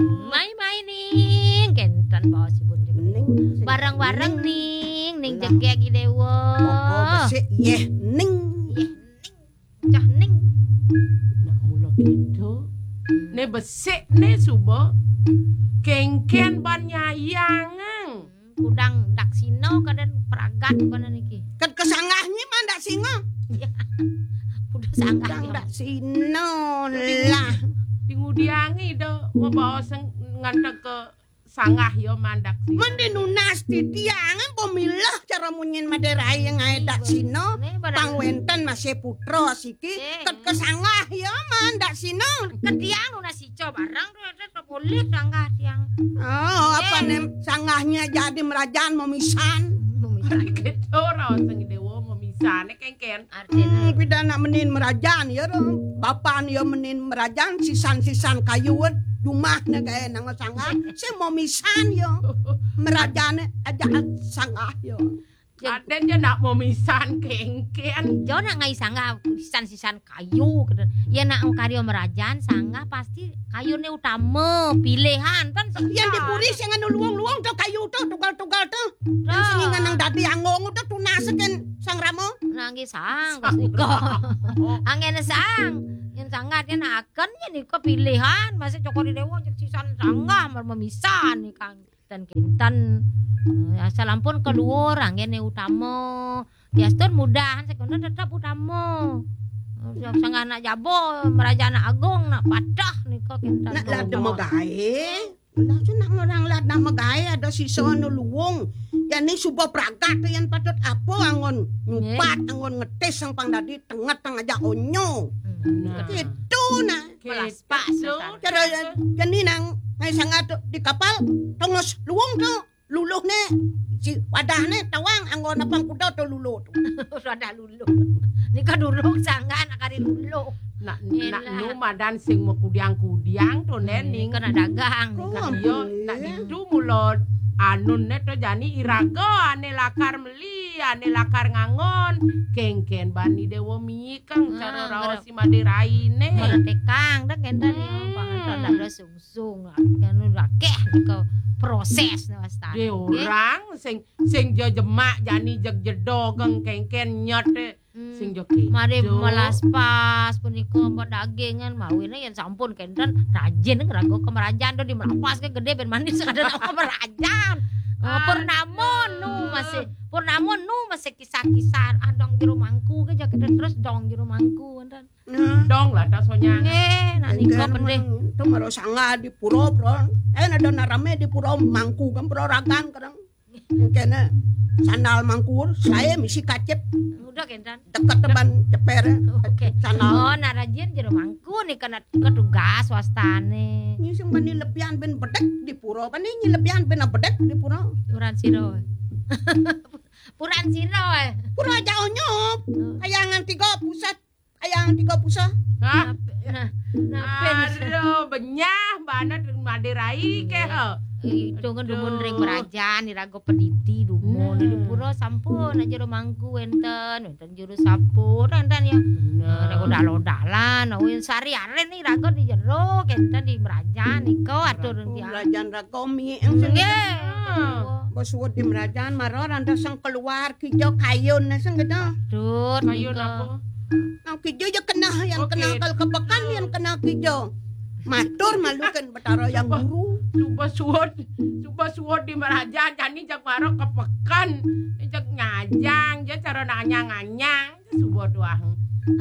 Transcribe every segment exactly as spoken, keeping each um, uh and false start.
Mai-mai ning, kenten baos ibun jegég. Ning, sing Bareng-bareng ning. Ning, ning Lah. Jegég I Déwa. Kok besik yéh ning. Yéh ning. Cah ning. Nak mula kéto. Né besik né suba. Kéngkén ban nyayang. Kudang daksina kadén pragat kana niki. Ket kesanggah nyi man daksina. Iya. Kudu sanggah. Kudang ya. Daksina lah. Di ngudiangi do mabaos nganteg ke sanggah ya man daksina. Mending nunas titiang pemilah cara munyin Madé Rai ngaé daksina. Né barang pang wénten masih putra siki. Ket kesanggah ya man daksina. Ket tiang nunas ica barang. Boleh sanggah tiang. Oh, apa né sanggahnya jadi merajaan memisan? Memisan. Ari kéto raos sing Déwa memisan kéngkén. Artinya. Hmm, pida nak menin merajaan ya ro. Bapan ya menin merajaan sisan-sisan kayu jumah né gaé nang sanggah. Sing memisan ya. Merajaan aja sanggah ya. Adén ja nak memisan kéngkén. Jo nak ngai sanggah sisan-sisan kayu kéto. Ya nak karya merajaan sanggah pasti kayuné utama, pilihan kan. Yang dipuri sing anu luwung-luwung to kayu to tugal-tugal to. Yang sing ngenang dadi anggung to tunas kén Sang Rama. Nah nggih sang pas nika. Anggén sang. Yang sanggah kan akan ya nika pilihan masih cokor Déwa cek sisan sanggah memisan nih Kang. Kinten-kinten, eh, asal ampun keluar anggéné utama. Diastun mudahan sekono tetep utama. Eh, sanggah nak jaba, meraja nak agung, nak patah nika kinten. Nak lada magaé. Lah tu nak ngorang lada magaé ada sisa anu luwung. Jani suba pragat tu yang patut apa anggon nyupat, anggon ngetis sang pang dadi tenget tang aja onyo. Hmm. Nah. Itu nah. Melas pas. Cara jani nang ngai sangat tu di kapal tongos luwung tu luluh né si wadah né tawang anggo napang kuda tu luluh tu. Wadah luluh. Nika durung sanggah nak kari luluh. Nak nak nu madan sing makudiang-kudiang tu né ning. Nika nak dagang. Nika iya nak ditu mula anun né tu jani iraga ané lakar meli, ané lakar ngangon. Kéngkén bani Déwa mik Kang cara raos si Madé Rai né. Mara tekang dah kénten ya, panganten dah sungsung lah. Kan udah akeh ke proses nih wastane. Dé orang sing sing jejemak jani jeg jedog kéngkén nyet sing jo kéto. Mari melas pas punika mbok dagingan mawine yen sampun kénten rajin raga kemerajan do di melapas ke gedé ben manis ada nama kemerajan. Oh, purnama nu masih purnama nu masih kisah-kisah ah dong jero mangku ke jaket terus dong jero mangku wonten. Dong lah tas sonyang. Nggih, nak nika pendih. Tu mara sanggah di pura, Bro. Eh ada nak rame di pura mangku kan pura ragan kadang. Kene sandal mangku, saya misi kacip. Udah kentan. Deket teban ceper. Oke. Sandal. Oh, nak rajin jero mangku nih kena ketugas wastane. Ini sing bani lebihan ben bedek di pura. Bani ini lebihan ben bedek di pura. Puran siro. Puran siro eh. Pura jauh nyop. Kayangan tiga pusat. Kayangan tiga pusat. Hah? Nah, nah, Aduh, benyah banget Madé Rai ke. Itu kan dumun ring merajan, iraga pediti dumun di pura sampun aja rumangku wenten, wenten juru sampun wenten ya. Nah, udah lodalan, win sari aren nih raga di jero, kenten di merajan, iko atur dia. Merajan raga mi. Nggih. Bos suwud di merajan, mara randa sang keluar, kijo kayun, sing gitu. Aduh, kayun apa? Nang kijo ya kena, yang kena kal kepekan, yang kena kijo. Matur malu kan Betara yang guru. Coba suwud, coba suwud di merajan, jani jak mara kepekan, jak nyajang, ja cara nanyang-anyang, coba tuah.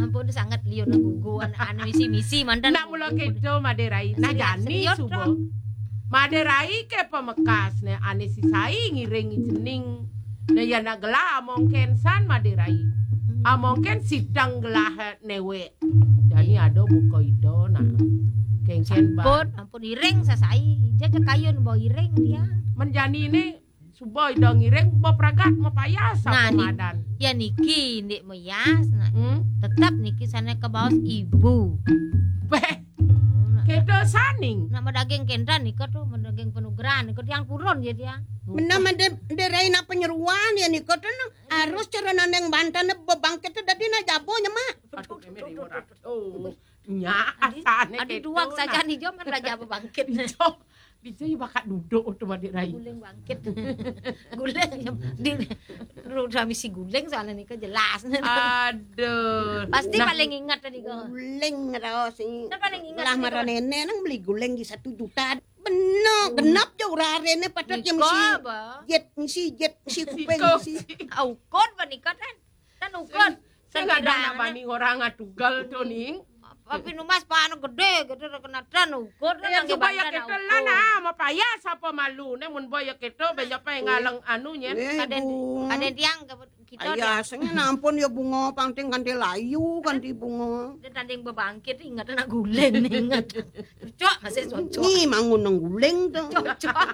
Ampun sangat liur gugu anu misi-misi mantan. Nak mula keto Madé Rai. Nah jani suba. Madé Rai ke pemekas ne ane sisai ngiring jening. Nah ya nak gelah amongken san Madé Rai. Amongken sidang gelah newek. Jani ada buka ida nah. Kengken ba. Ampun, ampun iring sasai. Jaja kayun bawa iring dia. Menjani ne suba ida ngiring ba pragat mapayas. Nah, apa madan. Ya niki ndik meyas nah. Hmm? Tetap niki sana ke baos ibu. Beh. Kita saning. Nak madaging kendran nika tuh, madaging penugrahan nika tiang purun ya tiang. Menam ada derai nak penyeruan ya nika tuh nah. Harus cara nandeng bantan bebangkit tuh dadi nak jabo nyemak. Aduh, keme di murah. Oh. Nya, asane adi keto, duang saja nah. Nih, Jo, kan raja bebangkit. Dijo, dijo ya bakat duduk tu, Ade Rai. Guling bangkit. Guling, di, suami si guling soalnya nih, jelas. Aduh. Pasti nah. Paling ingat tadi kok. Guling raos ini. Nah, paling ingat lah tadi marah kok. Nenek nang beli guling di satu juta. Bener, genap je urang arene patut je misi jet, misi jet, misi kuping, misi. Ukur ba nika, Tan? Tan ukur. Sing, sing ada nak bani orang atugal tu, Ning. Tapi numas pan gede, gede kena tan ukur. Ya, coba ya kita lah, nah, mapayas apa malu, ne mun boy ya kita, banyak apa yang ngalang anu, nya. Kaden, kaden tiang ke kita. Ayah, sing ampun ya bunga, pangting ganti layu, ganti bunga. Dia tanding bebangkit, ingat nak guling, ingat. Cocok, masih cocok. Ni mangun nang guling tu. Cocok.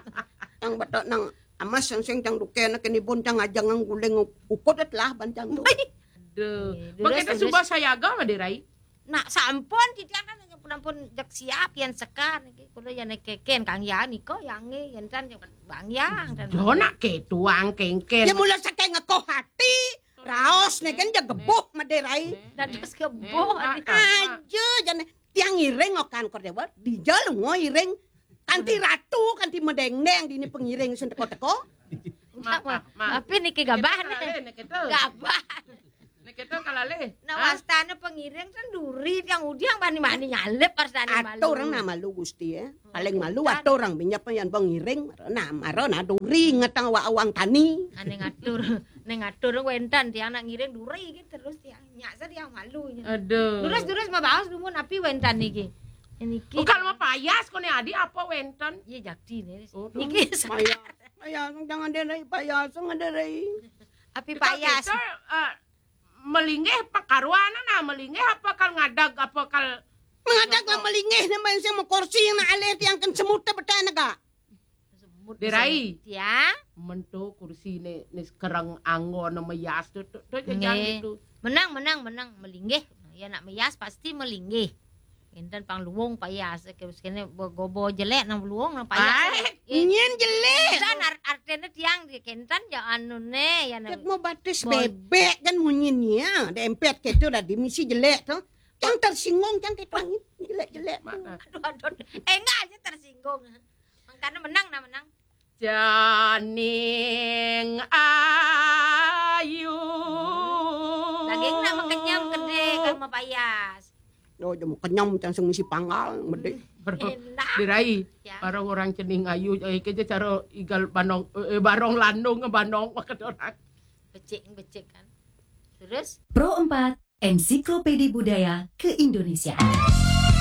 Yang betok nang amas yang sing cang duke nak kini bun cang ajang nang guling ukur telah bancang tu. Aduh. Bang kita suba sayaga, Ade Rai. Nak sampun titiang kan pun jak siap yang sekar niki. Kulo yang keken Kang Yani ko yang ni yang tan Bang Yang dan. Jo nak ketuang kengken. Ya mula saking ngekoh hati. Raos ne kan ja gebuh Ade Rai. Dados gebuh. Aja jane tiang iring okan kor dewa, dija lunga iring. Kanti ratu, kanti medengdeng dini pengiring sing teko-teko. Tapi niki gabah ne. Gabah. Nek kita kalalih. Nah, wastane pengiring kan duri tiang udiang bani-bani nyalip wastane malu. Atur nang malu Gusti ya. Paling malu atur orang binjap yang pengiring. Nah, maro nah duri ngetang wa awang tani. Ane ngatur. Nek ngatur wénten tiang nak ngiring duri gitu terus tiang. Nyak sa tiang malu nya. Aduh. Durus-durus mabaos dumun api wénten niki. Niki. Kalau mapayas kone adi apa wénten? Iya jakti ne. Oh, niki payas. Payas jangan Ade Rai, payas jangan Ade Rai. Api payas. Kita, eh, melinggih pakaruan nah, melinggih apa kal ngadag apa kal. Mengadag lah melinggih ne main sing kursi nak alih tiang kan semut betai nega. Ade Rai. Ya. Mentu kursi ne, ne kereng anggo ne meyas tu, tu, tu jangan gitu. Menang, menang, menang, melinggih. Ya nak meyas pasti melinggih. Enten pang luwung payas, terus kene gobo jelek nang luwung nang payas. Nyen jelek. Dan artene tiang di kenten ya anu ne ya. Ket mau batis bebek kan munyinya, dempet ketu dah dimisi jelek tu. Cang tersinggung, cang ketu angin jelek-jelek. Aduh, aduh. Eh, enggak aja tersinggung. Karena menang nah menang. Janing ayu. Daging nak makenyam gede kalau mapayas. Oh, jam kenyam cang sing misi panggal gede. Ade Rai. Ya. Orang-orang cening ayu, eh, keja cara igal banong, eh, barong landung banong makan orang. Becik, becik kan. Terus? Pro empat, Ensiklopedi Budaya Keindonesiaan.